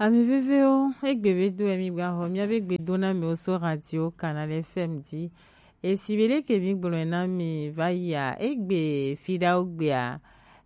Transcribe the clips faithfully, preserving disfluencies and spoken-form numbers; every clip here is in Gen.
Ami vevewo, egbe be do emi gba xɔ miabe gbedo na mi wo so radio Canal F M di. Esi be leke mi gblɔe na mi va yia, egbe fiɖawo gbea,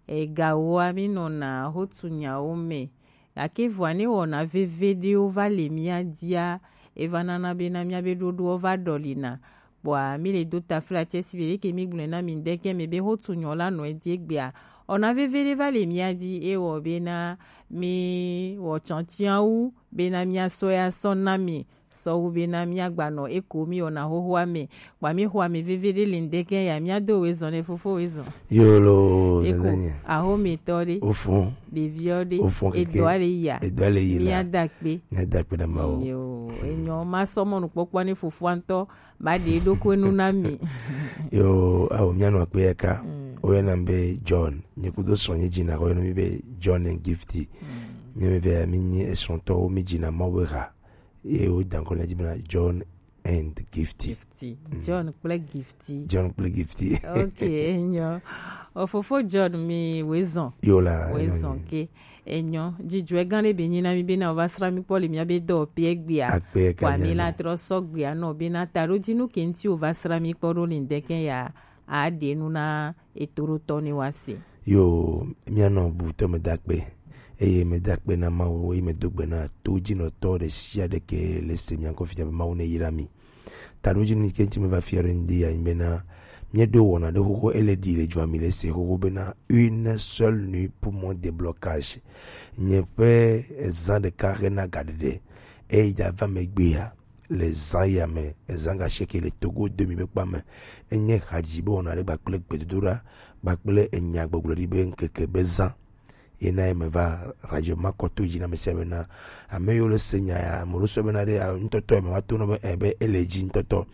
egawoa mi nɔna xotu nyawo me. Gake vɔa ne wɔna veve ɖewo va le mia dia, eva nana bena miabe ɖoɖowo va ɖɔlina. Kpɔa, mi le do taflatse si be leke mi gblɔe na mi ŋdɛkɛ me be xotu nyɔ la nɔ edi egbea. Ɔna veve ɖe va le mia di ewɔ bena mi wɔ tsɔtsiawu bena mia sɔ ya sɔ na mi sɔwu bena mia gba nɔ eko mi wɔna xoxoa me. Kpɔa mi xɔ ame veve ɖe le ŋdɛkɛ ya mia do wezɔn ne fofo wezɔn. Yolo, eko nenenye. Axometɔ ɖe. Ofo. Ɖeviɔ ɖe. Ofo keke. Edɔa le ya. Edɔa le yi la. Mia da kpe. Mia da kpe na Mawu. Yo, enyɔ ma sɔ mɔnukpɔkpɔ ne fofoa ŋtɔ ba ɖe ɖokui nu na mi. Yo, awo mia nɔ akpe ya ka. Mm. Woyɔna mi be John. Nye kudo srɔ̃ nye dzina woyɔna mi be John and Gifty. Mm. Mi ame evea mi nyi esrɔ̃tɔwo mi dzina Mawu be ha. Ye wo da ŋkɔ na dzi bena John and Gifty. Gifty. Mm. John kple Gifty. John kple Gifty. Ok, enyo. O fofo John mi wezɔn. Yo la, enyo. Wezɔn ke. Enyo, dzidzɔe gã ɖe be nyi na mi bena wova sra mi kpɔ le miabe dɔwɔƒea egbea. Akpe ka. Kpɔa mi la trɔ sɔ gbea nɔ bena taɖodzinu ke ŋuti wova sra mi kpɔ ɖo le ŋdɛkɛ ya aɖe nu na etoɖotɔ ne woase. Yo, mianɔ bubutɔ me da akpe. Eye me da akpe na Mawu, eye me do gbe na todzinɔtɔ ɖe sia ɖe ke le se mia ŋkɔ fifia be Mawu ne yra mi. Taɖodzinu yi ke ŋuti meva fia ɖe ŋdi ya nyi bena, míeɖo wɔna ɖe xoxo ele ɖi le dzoa mi le se xoxo bena une seule nuit pour mon déblocage. Nye ƒe ezã ɖeka hena gaɖeɖe. Eyi dza va megbea, le zã ya me, ezã gasieke le Togo do mi be kpa me. Enye hadzi be wɔna ɖe kpakple gbedodoɖa, kpakple enya gbɔgblɔ ɖi be ŋkeke be zã. Ye na ye me va radio ma kɔ to dzi na ame sia ame bena, ame yiwo le se nya ya, ame ɖewo sɔ bena ɖe, ah, ŋutɔtɔ ye me va to nɔ be, eh, be ele dzi ŋutɔtɔ.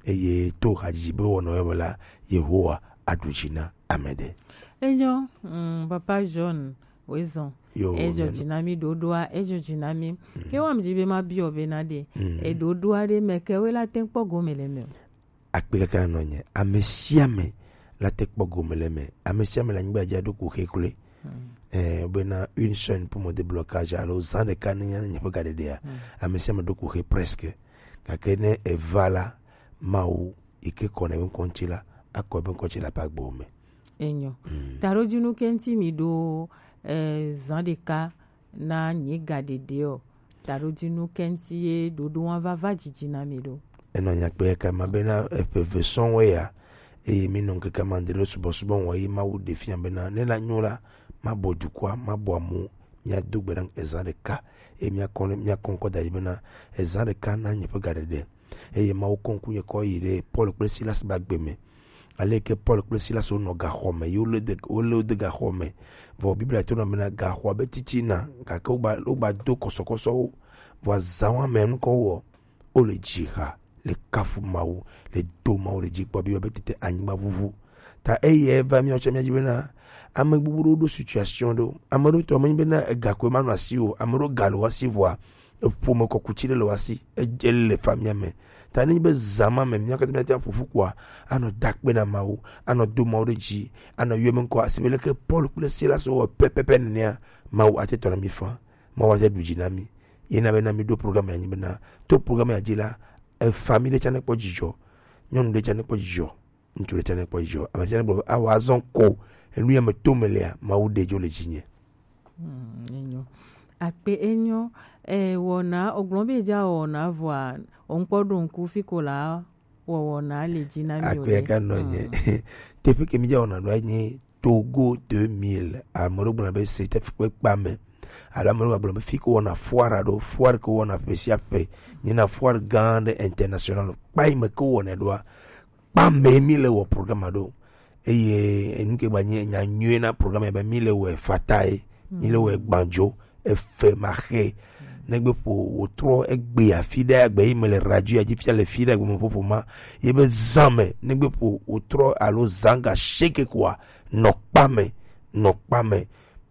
Eye to hadzidzi be wɔnɔ ye me la, Yehowa aɖu dzi na ame ɖe. Enyo, mm, Papa John, wezɔn. Yo, ejo dzi na mi ɖoɖoa, ejo dzi na mi. Mm. Ke wa mi dzi be ma biɔ be na ɖe. Mm. Eɖoɖoa ɖe me ke we la te kpɔ gome le me o. Akpe kaka nɔ nye. Ame sia ame la te kpɔ gome le me. Ame sia ame le anyigba dzi aɖo kuxi kloe. Hmm. Eh, bena une chaîne pour mon déblocage alo zã ɖeka ne nya nye ƒe gaɖeɖea. Hmm. Ame sia ame ɖo kuxi presque. Gake ne eva la, Mawu yi ke kɔ ne ebe ŋkɔ ŋuti la, akɔ ebe ŋkɔ ŋuti le aƒe agbewo me. Enyo. Hmm. Taɖodzinu ke ŋuti mi ɖo, eh, zã ɖeka na nye gaɖeɖe o. Taɖodzinu ke ŋuti ye ɖoɖo wa va va dzidzi na mi ɖo. Enɔ nya kpe kama bena eƒe ve sɔŋ wɔ ya, eye mi nɔ ŋkeke ma ŋde ɖo subɔsubɔ wɔ ye Mawu ɖe fia bena ne la nyo la, mabɔ dukɔa, mabɔ amu, miado gbe ɖa ezã ɖeka, eye miakɔ, miakɔ ŋkɔ da dzi bena ezã ɖeka na nye ƒe gaɖeɖe. Eye Mawu kɔ ŋku nye kɔ yi ɖe Paul kple Silas be agbe me. Ale ke Paul kple Silas wonɔ gaxɔ me, ye wolé de, wolé wo de gaxɔ me. Vɔ Biblia to nɔ bena gaxɔa be titina, gake wogba, wogba do kɔsɔkɔsɔwo. Vɔ azã wa me ŋkɔ wɔ, wole dzi xa, le kafu Mawu, le do Mawu le dzi kpɔ, Biblia be tete anyigba ʋuʋu. Ta eyi va míawo tsɛ míadzi bena, ame gbogbo ɖewo ɖo situation ɖewo. Ame ɖewo tɔ menyi bena ega koe manɔ asi o, ame ɖewo ga le wo asi vɔa, eƒome kɔkuti ɖe le wo asi, edze le famia me. Ta nenye be zã ma me mía katã míate ŋu aƒo ƒu kpɔa, anɔ da akpe na Mawu, anɔ do Mawu ɖe dzi, anɔ yɔ eƒe ŋkɔ, esi be leke Paul kple Silas wɔ pɛpɛpɛ nenea, Mawu ate tɔ na mí faa, Mawu ate ɖu dzi na mí. Ye na be na mí ɖo programme ya nyi bena, to programme ya dzi la, efami ɖe tsã nekpɔ dzidzɔ, nyɔnu ɖe tsã nekpɔ dzidzɔ. Ŋutsu ɖe tsɛ ne kpɔ dzidzɔ. Ame tsɛ ne gblɔ be, "Awɔ azɔ ko enu ya me to me lea, Mawu ɖe dzo le dzinye." Hmm, enyo. Akpe enyo. Eh, wɔna, ogblɔ be dza wɔna vɔa, onkpɔ ɖo ŋku fi ko la wɔwɔna le dzi na mi. Akpe ka nɔ nye. Hmm. Teƒe ke mi dza wɔna ɖo nye Togo deux mille. Ame ɖewo gblɔna be c'est kpekpa me. Alo ame ɖewo gblɔ be fi ko wɔna foire ɖo, foire ko wɔna ƒe sia ƒe. Nye na foire gã ɖe international. Kpa yi me ko wɔnɛ ɖoa, kpa me mi le wɔ programme ɖo. Eye enu ke gba nye nya nyuie na programme ya be mi le wɔ fatae, mi le wɔ gbandzo, efe ma xe. Negbe ƒo wòtrɔ egbe afi ɖe agbe yi me le radio ya dzi fia le fi ɖe agbe me ƒoƒo ma. Ye be zã me, negbe ƒo wòtrɔ alo zã ga sheke koa, nɔ kpa me, nɔ kpa me.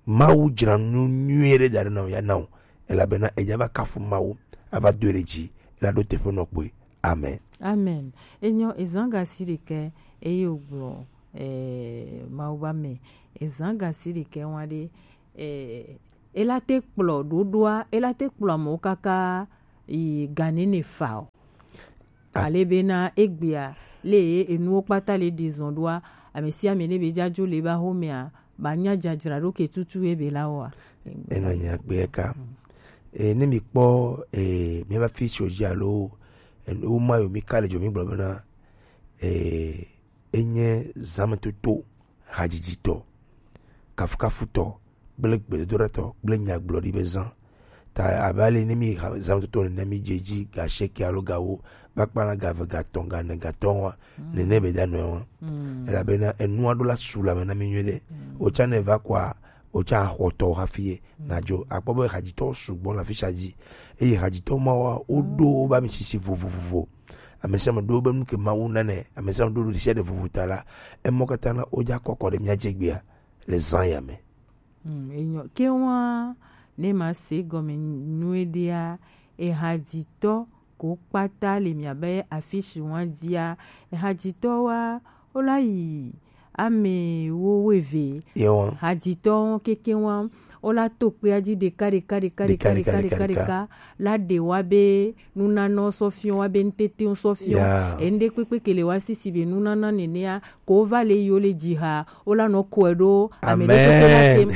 Mawu dzra nu nyuie ɖe da ɖe na wò ya na wò. Elabena edza va kafu Mawu, ava doe ɖe dzi, ela ɖo teƒe nɔ kpɔe. Amen. Amen. Enyo ezã gasi ɖekɛ eye wògblɔ, eh, Mawu ba me. Ezã gasi ɖekɛ wa ɖe, eh, ela te kplɔ ɖoɖoa, ela te kplɔ amewo kaka yi ga nene fa o. Ale bena egbea, le ye enuwo kpata le ɖi zɔn ɖoa, ame sia ame ne be dzadzo le ba xomea, ba nya dzadzra ɖo ke tutu ye be la wɔa. Enɔ nya gbe ka. E, ne mi kpɔ, e, mi va fi tso dzi alo, e, wo ma yo mi ka le dzo mi gblɔ bena, e, enye zametoto hadzidzi tɔ, kafukafu tɔ, kple gbedodoɖa tɔ, kple nyagblɔɖi be zã. Ta abe ale ne mi ha-, zã toto nene mi dze dzi ga sheke alo ga wo, va kpana ga ve, ga tɔn, ga ne, ga tɔn wa, nene be da nɔe wa. Elabena enua ɖo la su la me na mi nyuie ɖe. Wotsa ne va kɔa, wotsa xɔ tɔ hafi ye. Na dzo, akpɔ be hadzitɔwo sugbɔ le afisia dzi. Eye hadzitɔ mawoa, woɖo wobe amisisi vovovovo. Ame sia ame ɖo wobe nu ke Mawu na nɛ. Ame sia ame ɖo ɖo ɖe sia ɖe vovo ta la, emɔ katã na wodza kɔkɔ ɖe mía dzi egbea le zã ya me. Mm, enyo. Ke wa ne ma se gɔme nyuie ɖea, ehadzitɔ ko kpata le miabe afisi wa dzia, ehadzitɔ wa wola yi ame wo weve. Yewa. Hadzitɔ keke wa wola to kpea dzi ɖeka, ɖeka, ɖeka, ɖeka, ɖeka, ɖeka, ɖeka, ɖeka, ɖeka, ɖeka, la ɖe wa be nunanɔ sɔ fiɔ wa be nutete sɔ fiɔ. Ya. Ende kpekpe ke le wa sisi be nunana nenea, ko va le yi wo le dzi ha, wo la nɔ kɔe ɖo ame ɖe kpekpe la tem.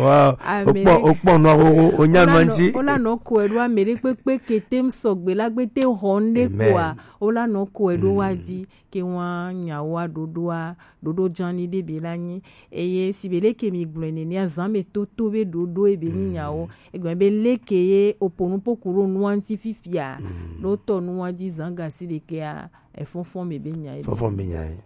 Wow. Ame okpɔ, ɖe- okpɔ nua wo, wo, wo nya Wo la nua nɔ, ŋuti. Wo la nɔ kɔe ɖo ame ɖe kpekpe ke tem sɔgbe la gbe te xɔ ŋɖe kpɔa, wo la nɔ kɔe ɖo wa dzi, ke wa nyawoa ɖoɖoa, ɖoɖo dzani ɖe be la nyi. Eye si be leke mi gblɔe nenea, zã me toto be ɖoɖo ebe nyi nyawo. Egɔme be leke ye opo nupo ku ɖo nua ŋuti fifia, ɖo tɔ nua dzi zã gasi ɖekea, efɔfɔ me be nya ye. Fɔfɔ me be nya ye.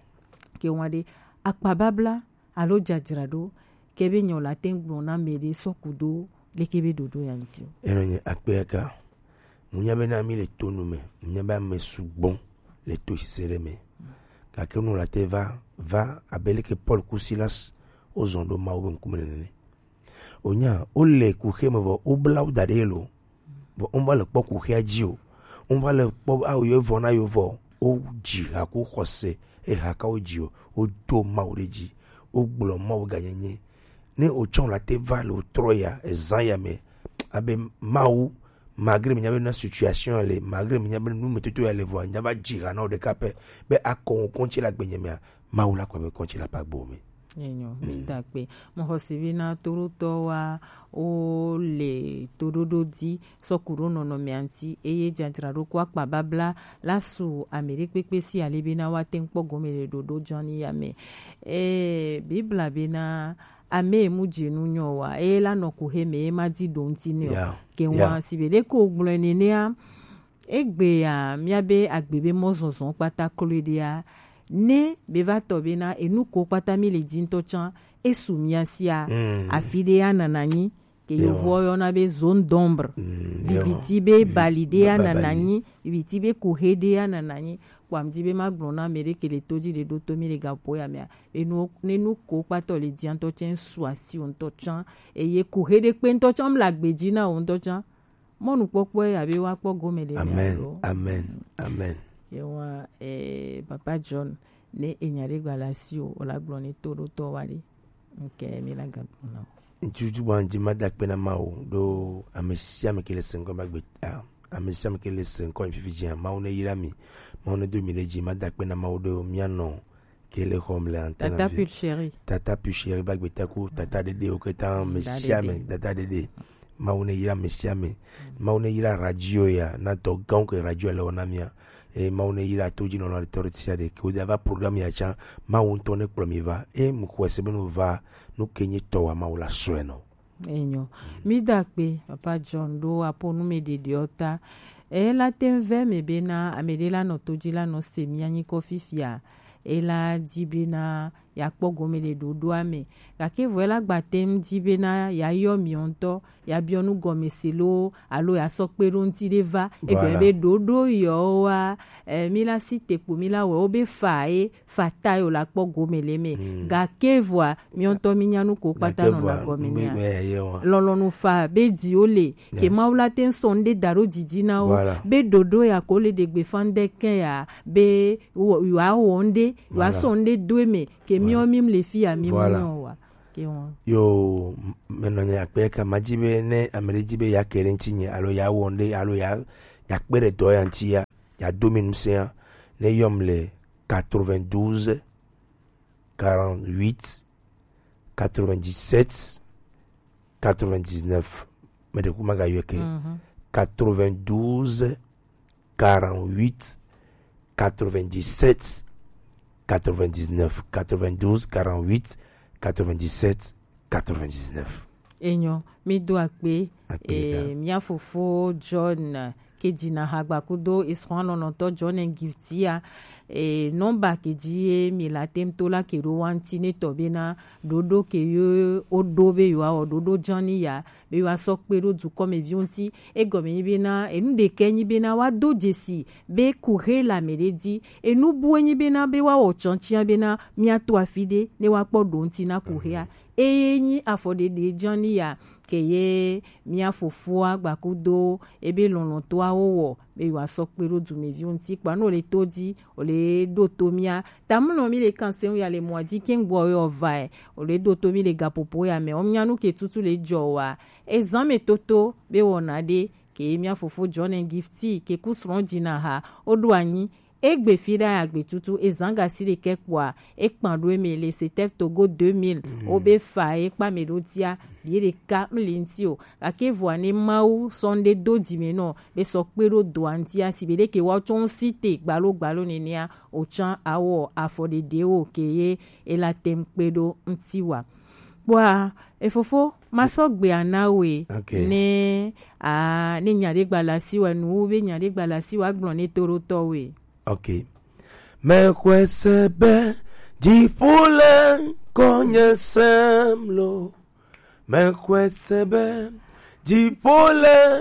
Ke wa ɖe akpababla alo dzadzraɖo, ke be nyɔ la te ŋu gblɔ na ame ɖe sɔ ku ɖo leke be ɖoɖo ya ŋuti o. Enɔ nye akpe aka. Mu nya be na mi le to nu me, mu nya be ame sugbɔ le to sise ɖe me. Gake nu la te va, va abe leke Paul ku Silas wo zɔn ɖo Mawu be ŋkume nene. Wonya, wole kuxi me vɔ, wobla wo da ɖe lo. Vɔ wova le kpɔ kuxia dzi o. Wova le kpɔ awo yɔ vɔ na yo vɔ. Wodzi ha ku xɔse, eha ka wodzi o. Wodo Mawu ɖe dzi. Wogblɔ Mawu ganyenye. Ne wotsɔ la te va le wotrɔ ya, ezã ya me, abe Mawu, malgré mi nya be na situation ya le, malgré mi nya be nu me toto ya le vɔ, nya va dzi ha na wo ɖeka pɛ, be akɔ ŋkɔ ŋuti le agbenye mea, Mawu la kɔ be kɔntsi la pa gbo me. Enyo, mi da kpe. Mo xɔ si be na toɖotɔ wa wo le toɖoɖo di sɔ ku ɖo nɔnɔmea ŋuti, eye dzadzraɖo ku akpa babla la su ame ɖe kpekpe si ale be na wa te ŋu kpɔ gome le ɖoɖo dzɔni ya me. E, Bibla be na ame mu dze nu nyɔ wa, eye la nɔ ku he me, ye ma di ɖo ŋuti ne o. Yeah. Ke wa si be ɖe ko gblɔe nenea, Egbea, míabe agbe be mɔzɔzɔ kpata kloe ɖea, ne be va tɔ be na enu ko kpata mi le di ŋutɔ tsã, esu mía sia, afi ɖe ya nana nyi, ke yovo yɔna be zone d'ombre. Viviti be bali ɖe ya nana nyi, viviti be kuhe ɖe ya nana nyi. Kpɔ amdi be ma gblɔ na ame ɖe ke le to dzi ɖe ɖo to mi le gaƒo ya mea, enu, ne nu ko kpatɔ le di ŋutɔ tsã, esu asi wo ŋutɔ tsã, eye kuhe ɖe kpe ŋutɔ tsã, mla gbe dzi na wo ŋutɔ tsã. Mɔnukpɔkpɔe abe woakpɔ gome le mia lo. Amen. Amen. Yewa, eh, Papa John, ne enya ɖe gba le asi o, o la gblɔ ne to ɖo tɔ wa ɖe. Nke mi la gagblɔ na o. Ŋutsu bua ŋdi ma da akpe na Mawu ɖo ame sia ame ke le se ŋkɔ ba gbe, ah, ame sia ame ke le se ŋkɔ fifi dzi. Mawu ne yra mi. Mawu ne do mi ɖe dzi, ma da akpe na Mawu ɖo mia nɔ ke le xɔm le antenne. Tata Pulchérie. Tata Pulchérie ba gbeta ku, tata ɖeɖe wo keta, ame sia ame, dada ɖeɖe. Mawu ne yra ame sia ame. Mawu ne yra radio ya, na dɔ gãwo ke radio le wɔna mia. E Mawu ne yra to dzi nɔnɔ tɔ ɖe sia ɖe. Ke wo da va programme ya tsã, Mawu ŋutɔ ne kplɔ mi va. E mu xɔe se be no va, nu ke nye tɔ wa Mawu la sɔe nɔ. Enyo. Mi da akpe, Papa John, ɖo apo nu me ɖeɖeɔ ta. E la te ŋu vɛ me bena ame ɖe la nɔ to dzi la nɔ se mia nyikɔ fifia. E la di bena ya kpɔ gome le ɖoɖoa me. Gake vɔ e la gba te ŋu di bena ya yɔ mi ŋutɔ, ya biɔ nu gɔme se lo, alo ya sɔ kpe ɖo ŋuti ɖe va. Egɔme be ɖoɖo yɔ wa, eh, mi la si te kpo mi la wɛ wo be fa ye. Fata yo la kpɔ gome le me. Gake vɔa, mi ŋutɔ mi nya nu ko kpata nɔ na gɔme nya. Lɔlɔnu fa be di wo le. Ke Mawu la te ŋu sɔ ŋɖe da ɖo didi na wo. Be ɖoɖo ya ko le ɖe gbe fa ŋɖe ke ya. Be wo, yo a wɔ ŋɖe, yo a sɔ ŋɖe do eme. Ke mi wo mi le fi ya mi mu nyɔ wa. Yo, maintenant, il y a quelqu'un m'a dit, mais, mais, mais, il y a quelqu'un qui est, alors, il y a un, alors, il y a, il y a plein de doigts entiers, il y a deux mille cinq, les hommes, les quatre-vingt-douze, quarante-huit, quatre-vingt-dix-sept, quatre-vingt-dix-neuf. Mais du coup, ma gars, il y a que quatre-vingt-douze, quarante-huit, quatre-vingt-dix-sept, quatre-vingt-dix-neuf, quatre-vingt-douze, quarante-huit, quatre-vingt-dix-sept, quatre-vingt-dix-neuf. Enyo, mi do akpe. Akpe, eh, ga. Mia fofo John, ke dina hagba kudo isran nɔnɔtɔ John and Gifty a. E nɔmba ke ji ye mi la tem to la ke ɖo wanti ne tɔ be na ɖoɖo ke yo o ɖo be yo a wɔ ɖoɖo jan ni ya be wa sɔ kpe ɖo dukɔmeviwo ŋuti. Egɔme nyi bena enu ɖekɛ nyi bena wa do dzesi be kuxe le ame ɖe dzi. Enu bue nyi bena be wa wɔ tsɔntsia bena mia to afi ɖe ne wa kpɔ ɖo ŋuti na kuxea. Eye nyi afɔɖeɖe jan ni ya ke ye mia fofoa gbakudo ebe lɔlɔ̃tɔawo wɔ be yewoa sɔ kpe ɖo dumeviwo ŋuti kpa ne wòle to dzi wòle ɖo to mía tamlɔ mi le kan seŋ ya le mɔa dzi ke ŋgbɔ yɔ vae wòle ɖo to mi le gaƒoƒo ya me wɔm nya nu ke tutu le dzɔ wa ezan me toto be wɔna ɖe ke mía fofo John and Gifty ke ku srɔ̃ dzina ha woɖo anyi egbe fi ɖe agbe tutu ezan gasi ɖekɛ kpɔa ekpan ɖo eme le Setɛp Togo deux mille wobe fa ekpa me ɖo dia bie ɖeka mli ŋuti o gake vɔa ne Mawu sɔ ŋɖe do dzi me nɔ be sɔ kpe ɖo doa ŋutia si be ɖeke woatsɔ ŋu si te gbalo gbalo nenea wòtsã awɔ afɔɖeɖewo ke ye ela tem kpe ɖo ŋuti wa. Kpɔa efofo masɔ gbea na we ne a ne nya ɖe gba le asi wa nu be nya ɖe gba le asi wa gblɔ ne to ɖo tɔ we. Ok. Mexɔe se be dziƒo le ŋkɔnye sem lo. Mexɔe se be dziƒo le